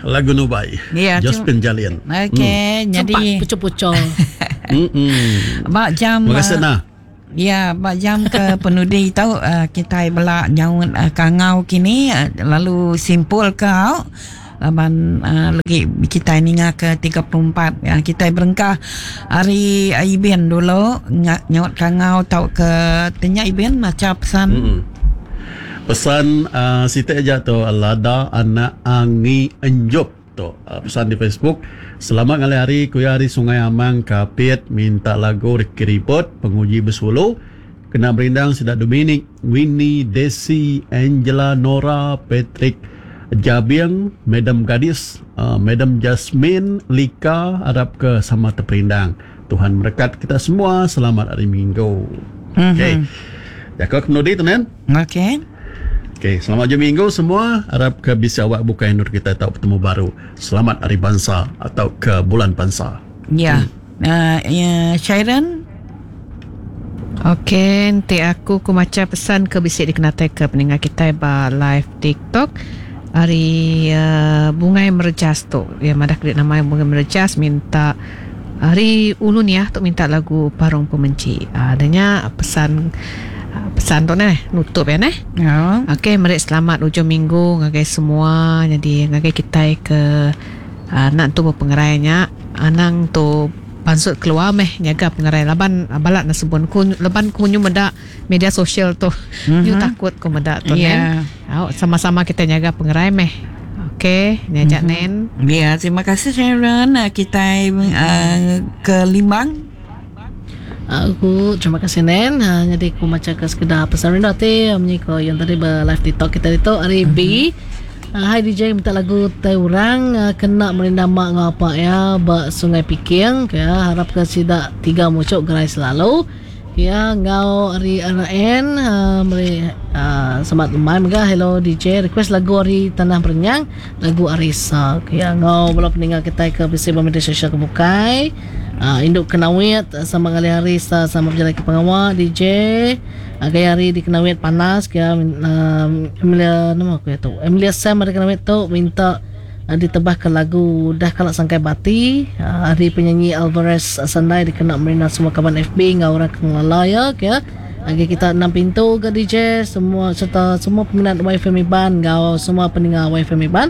lagu Nubai. Ya, Josephine Jalin. Okey, Sempat jadi pucuk-pucuk. ba jam Terima kasih nah. Ya, ba jam ke penudi tu kitai bela nyaut kangau kini lalu simpul ke au laban legi kitai ninga ke 34 kitai berengkah ari Ibin dulu nyaut kangau tauka tanya Ibin macha pesan. Pesan siti aja tu lada anak Angi Enjup tu pesan di Facebook. Selamat ngalih hari ku iya ari Sungai Amang Kapit minta lagu Ricky Ribut Penguji Besulu kena merindang sida Dominic, Winnie, Desi, Angela, Nora, Patrick, Jabing, Madam Gadis, Madam Jasmine, Lika arap ke sama teperindang. Tuhan merekat kita semua selamat hari minggu. Okey. Jaku ke penudi tu nen. Okey. Okey, selamat ujung minggu semua. Arap ke bisi awak bukai endur kita tau betemu baru. Selamat Hari Bansa atau ke Bulan Bansa. Ya. Uh, Sharon. Okey, enti aku ku macha pesan ke bisi dikenatai ke peninga kitai ba live TikTok ari uh, Bungai Merejas tu. Iya madah ke nama Bungai Merejas minta ari Ulu Niah tu minta lagu Parung Pemenchi. Uh, nya pesan pesan tu neh nutup ya neh. Ya. Okey, meri selamat ujung minggu ngagai semua jadi ngagai kitai ke uh, nak tu bepengerai nya anang tu pansut keluar meh nyaga pengerai laban balat ne sebun ku laban ku nyu meda media sosial tu mm-hmm. nyu takut ku meda tu yeah. nen au sama-sama kita nyaga pengerai meh okey nya aja mm-hmm. nen ya yeah, terima kasih Sharon kita uh, ke Limbang Aku terima kasih Nen. Ha, jadi aku maca ke sekedar pesan rindu ati munyi ko yang tadi ba live TikTok kita ditu ari B. Hai DJ minta lagu tai orang kena merindang mak enggau apak iya ba Sungai Piking ke harap ke sida tiga muchuk gerai selalu iya enggau ari RN meri selamat lemai mega hello DJ request lagu ari Tanah Berenyang lagu Arisa ke iya enggau bala peninga kitai ke bisi ba media sosial ke bukai indu ke nawit sama ngalih hari sama bejalai ke pengawa DJ. Gaya hari di Kenawit panas ke Emilia nama aku iya tu Emilia Sam ari Kenawit tu minta ditebahka lagu Dah Kala Sangkai Bati ari penyanyi Alvarez Sandai dikena merindang semua kaban FB enggau orang ke ngelala iya ke agi kita enam pintu ga DJ semua serta semua peminat YFM Iban enggau semua peninga YFM Iban.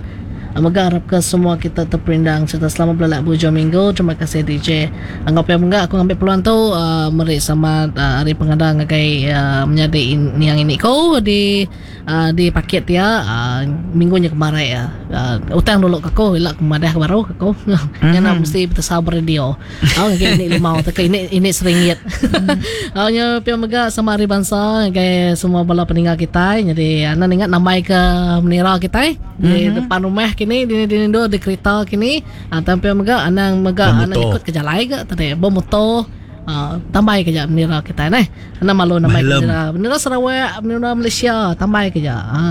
Mega arapka semua kita teperindang sereta selamat belelak beujung minggu. Terima kasih DJ. Enggau pia mega aku ngambi peluang tu meri selamat hari pengada ngagai menyadi niang ini ku di di pakit iya minggu nya kemarai iya. Utang dulu ke aku ila ku madah baru ke aku. Nya mesti betesau ba radio. Au ngagai ini limau tauka ini ini seringgit. Au nya pia mega sama hari bansa ngagai semua bala peninga kitai nyadi anang ninga nambai ke menira kitai di mm-hmm. depan rumah kini dini dini endur di kereta kini tang pia mega anang mega anang ikut ke jalai ga tadi bemotor uh, tambai ke ja menira kitai neh. Enda malu nama bendera. Bendera Sarawak, bendera Malaysia, tambai ke ja. Ha,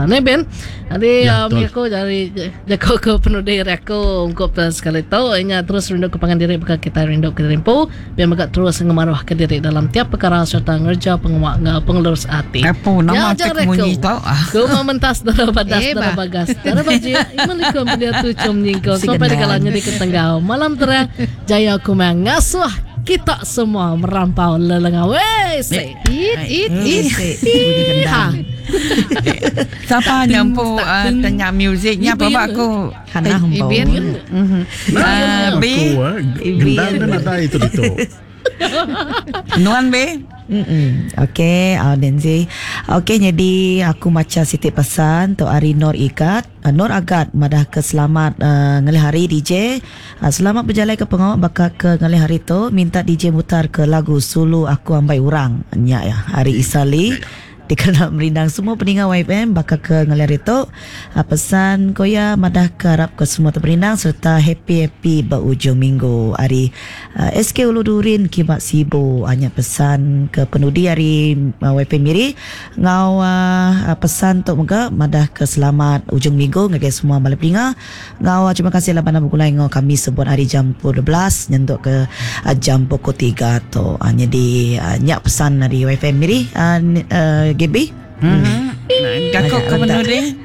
ne Ben. Jadi ya, um, aku dari jaku ke penudi ari aku ungkup sekali tu inya terus rindu ke pangan diri baka kita rindu ke diri empu, biar mega terus ngemaruh ke diri dalam tiap perkara serta ngereja pengawa enggau pengelurus ati. Apu nama ya, tek munyi tu. Ku mementas dara badas dara bagas. Dara bajik, iman likum pendia tuchum nyingkong sampai degala nyadi ke tenggau. Malam terang jaya kumang ngasuh kita semua merampau lelengau. Wey, say. It, it, it. Ha. Siapa nyampu uh, tanya musiknya apa aku? Hana hembau. Ibin. Uh, B. Gendang dan ada itu itu. Nuan B. Mm-mm. Okey, uh, Nancy. Okey, jadi aku maca siti pesan tu ari Nur Igat. Uh, Nur Agat madah ke selamat uh, ngalih hari DJ. Uh, selamat berjalai ke pengawa baka ke ngalih hari tu minta DJ mutar ke lagu Sulu Aku Ambai Urang. Nya ya, hari Isali. Dikena merindang semua peninga YFM baka ke ngalih hari tu. Pesan ko iya madah ke arap ke semua teperindang sereta happy-happy ba ujung minggu ari SK Ulu Durin kiba Sibu. Nya pesan ke penudi ari YFM Miri enggau pesan tu mega madah ke selamat ujung minggu ngagai semua bala peninga enggau terima kasih laban begulai enggau kami sebut ari jam pukul 12 nyentuk ke jam pukul 3 tu. Nyadi nya pesan ari YFM Miri Gaby. Jaku ke penudi.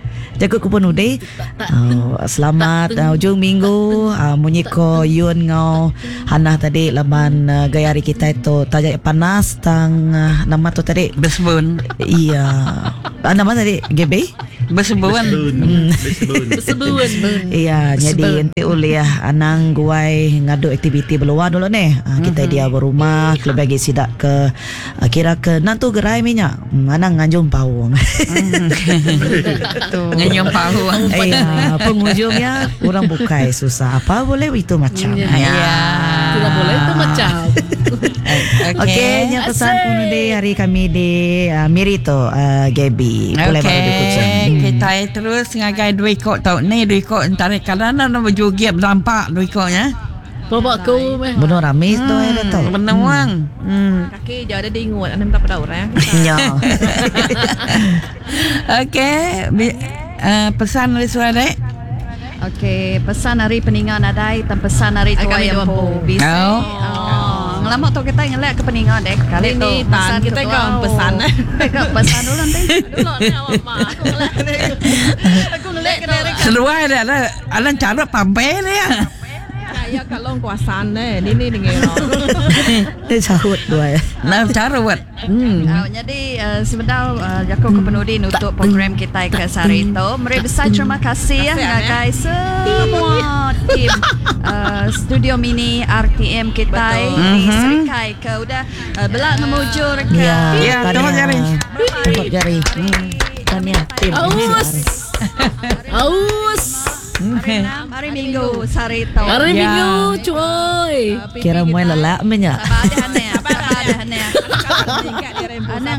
Jaku ku penudi. Oh, selamat uh, ujung minggu uh, munyi ko Yun ngau Hannah tadi laban uh, gaya hari kita tu taja panas tang uh, nama tu tadi Besebun. Iya. Uh, nama tadi GB? Besebun. Besebun. Besebun. Iya, jadi enti ulih anang guai ngadu aktiviti beluar dulu ni. Uh, kita dia berumah kelebih lagi sidak ke uh, kira ke nantu gerai minyak. Hmm, anang nganjung paung. Ngenyum pahu. Iya, penghujungnya orang bukai susah. Apa boleh itu macam. Ya. Ya. Tidak boleh itu macam. Okey, nya pesan penudi hari kami di uh, Miri tu uh, Gaby. Boleh baru di Kuching. Okey, kita terus ngagai dua ikut tau ni dua ikut antara kadang nak berjoget berdampak dua ikutnya. Bawa aku meh. Benar rame tu ya tu. Benuang. Hmm. Kaki je ada dingut, anda minta pada orang. Ya. Okey, pesan dari suara dek. Okey, pesan hari peningan nadai dan pesan hari tua Agak yang hidup po. empu. Bisi. Oh. Oh. Ngelama tu kita ngelak ke peningan dek. Kali tu Ini tan, pesan kita tu. kau pesan, eh. Kita kau pesan dulu nanti. Dulu ni awak mak aku ngelak. Aku ngelak kena Seluar dah lah. Alan cara pampe dia. Ya kalau kuasaan eh, ni ni dengan. Dia sahut dua. Nak cara buat. Hmm. Oh, jadi uh, sebentar uh, Jaku Kepenudi nutup program kita ke sehari itu. Meri besar terima kasih ya ngagai semua tim uh, Studio Mini RTM kita di Serikai ke udah uh, belak ngemujur ke. Ya, Ya, tahniah. tolong jari. Tepuk jari. Tahniah tim. Aus. Aus. Hari enam, hari Minggu sehari itu. Hari Ya. Minggu cuy. Kira mulai lelak menya. Sabar dah aneh, sabar dah aneh. Aneh,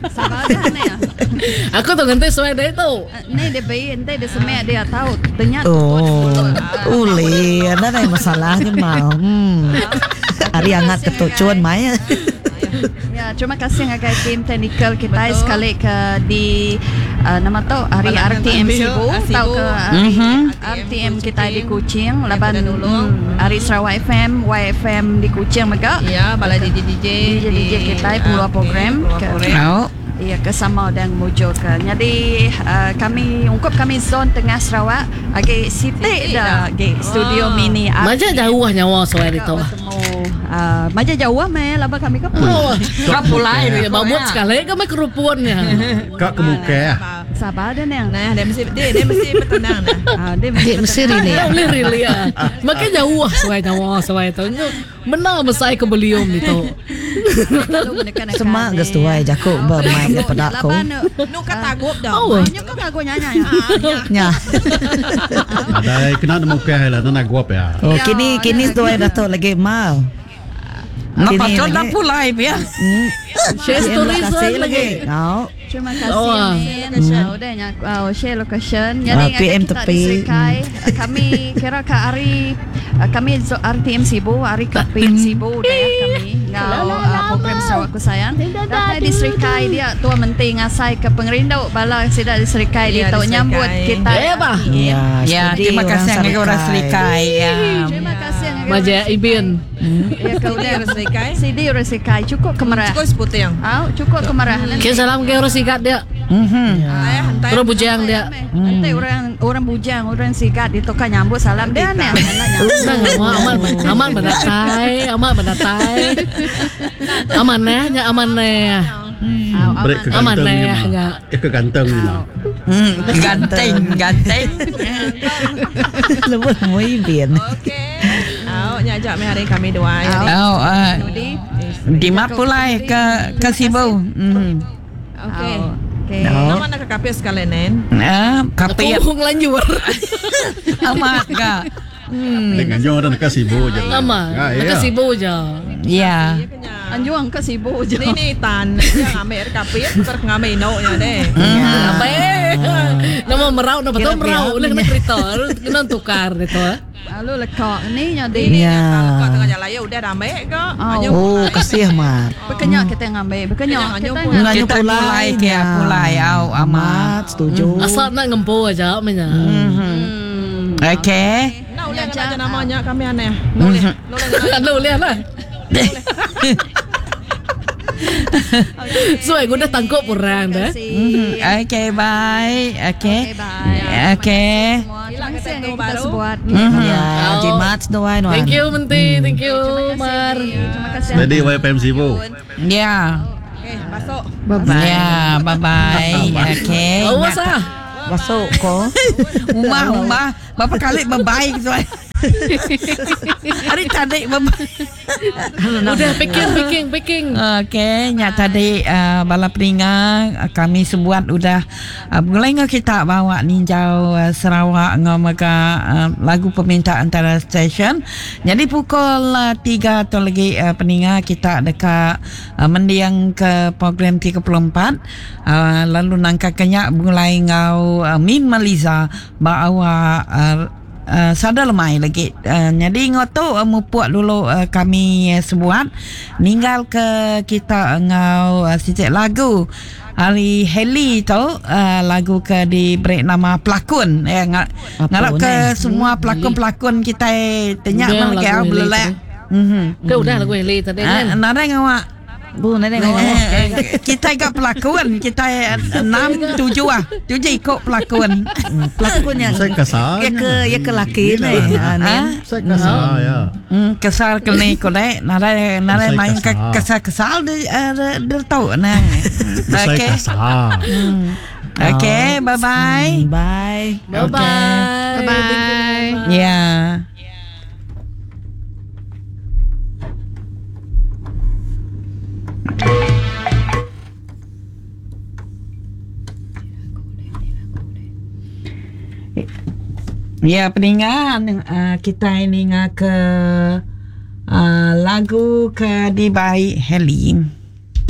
sabar dah aneh. Aku tu nganti suai dia tu. Ni dia bayi, nanti dia semek dia tahu. Ternyata Oh, uli, ada ada masalahnya mau. Hmm. Hari hangat ketuk cuan mai. Ya, terima kasih ngagai tim teknikal kita sekali ke di uh, nama tu hari Balak RTM Nabil, Sibu ah, tau Sibu. ke hari Mhm. RTM kita di Kuching laban udah nulung. hari Sarawak FM, YFM di Kuching mega. Ya, bala DJ DJ DJ DJ kita puluh program ke Oh. Ya, ke sama dan mujur ke. Jadi uh, kami ungkup kami zon tengah Sarawak agi sitik dah agi studio Wah. mini Macam jauh nyawa suai dia tu. Bertemu uh, macam jauh meh laba kami ke Oh, Kau pulai ya, babut sekali kami kerupunnya. Kak kemuka ya. Sabar dah neng. Nah, dia mesti dia, dia mesti bertenang nah. Ah, dia Dia mesti bertenang. Tak boleh really ya. Makin jauh suai nyawa suai tu. Menang besar ke beliau ni tu. Lalu menekan-nekan Semak ni. geus tuai jakuk bermain daripada aku. Laban, Nu katagup dah. Oh. Banyak kan aku nyanyi. Nya. Ada kena nemu ke lah nak guap ya. Oh, kini kini tuai datuk lagi mal. Nak Kini patut lagi. nak pulai ya. Share Terima story kasih lagi. lagi. Oh. Terima kasih Oh, ah. Min. Oh, udah nya oh, share location. Jadi Ah, ngagai PM kita tepi. di Serikai, kami kira ke hari kami RTM Sibu, hari KPM Sibu dah ya kami ngau uh, program Sarawak Ku Sayang. Datai di Serikai dia tua menti ngasai ke pengerindu bala sida di Serikai Ya, dia tu di nyambut Serikai. kita. Eh, bah. Ya, Ya, steady terima kasih orang ngagai orang Serikai. Ya. Terima kasih ngagai Maja orang Ibin. Ya kau Sidi udah orang Serikai. Sidi orang Serikai cukup kemerah. Cukup seputing. Au, cukup kemerah. Okay, salam ke orang sikat dia. Mhm. Ayah hantar. Terus bujang dia. Nanti orang orang bujang, orang sikat ditokan nyambut salam dia ni. Nang aman aman berdatai, aman berdatai. Aman eh, nya aman eh. Break ke Aman ganteng ni lah, mah. ya. Eh ke ganteng ni mah. Ganteng, ganteng. Lebih mui bin. Okey. Au, nya ajak meh hari kami dua. Jadi. Oh, uh, Nudi. di mana pulai ke ke Sibu. Hmm. Okey. Okey. No. Nama nak ke kapis sekali nen. Ah, kapi Aku ngelanjur. amat ke. Dengan jong orang ke Sibu je. Aman. Ah, Ke ya. Sibu je. Ya. Anjuang ke sibuk je. Ni ni tan yang ambil kapis ter ngambil inoknya deh. Apa eh? Nama merau, nama betul merau. Boleh kena kereta, kena tukar gitu. eh. Lalu lekak ni jadi. Ya. Kau tengah jalan ya udah ramai ke. Oh. Oh, kasih amat. Berkenyak kita ngambil, berkenyak kita ngambil. Nganyu Kita pulai. pulai ke, Ya. pulai, au, amat. Amat setuju. Asal nak ngempu aja menya. Okey. Nak boleh kena namanya kami aneh. Boleh. Boleh. Ada boleh lah. So aku udah tangkup orang dah. Mhm. Okay, bye. Okay. Okay, bye. Okay. Terima kasih semua. Kita sebuat. Ya, jimat seduai nuan. Thank you Menti, thank you Mar. Terima kasih. Jadi YPM Sibu. Ya. Okay, masuk. Bye-bye. Ya, bye-bye. Okay. Awas ah. Masuk ko. Umah, umah. Berapa kali bye-bye tuan. Hari tadi bye-bye. Udah packing packing packing. Okey, nya tadi uh, bala peninga uh, kami sebuat udah uh, mulai ngau kita bawa ninjau uh, Sarawak ngau mega uh, lagu peminta antara stesen. Jadi pukul uh, 3 tu lagi uh, peninga kita dekat uh, mendiang ke program 34 uh, lalu nangka kenyak mulai ngau uh, Min Maliza bawa uh, sada lemai lagi. Jadi ngotu uh, mupuk dulu uh, kami uh, sebuat ninggal ke kita ngau uh, sicik lagu hari Heli tu uh, lagu ke diberi nama pelakon ya nga, ngarap ke eh? semua pelakon-pelakon kita tanya Udah mana lagu ke Heli belelak. tadi. Mhm. Ke udah lagu Heli tadi kan. Ah, nadai ngawak. Bu, nadai ngawak. Eh, kita gak pelakon kita enam tujuh ah tujuh ikut pelakon Pelakon yang Saya kasar. ya ke ya ke laki ni. Ha, ni. Ah? Saya kasar ya. Kesal ke ni ko dek nadai nadai Saya main ke kesal. kesal kesal dia eh, dia tahu nang. Saya Okey. kasar. Okey, bye bye. Bye. Bye bye. Bye bye. Ya. Ya, peningan uh, kita ini ke uh, lagu ke dibaik Heli.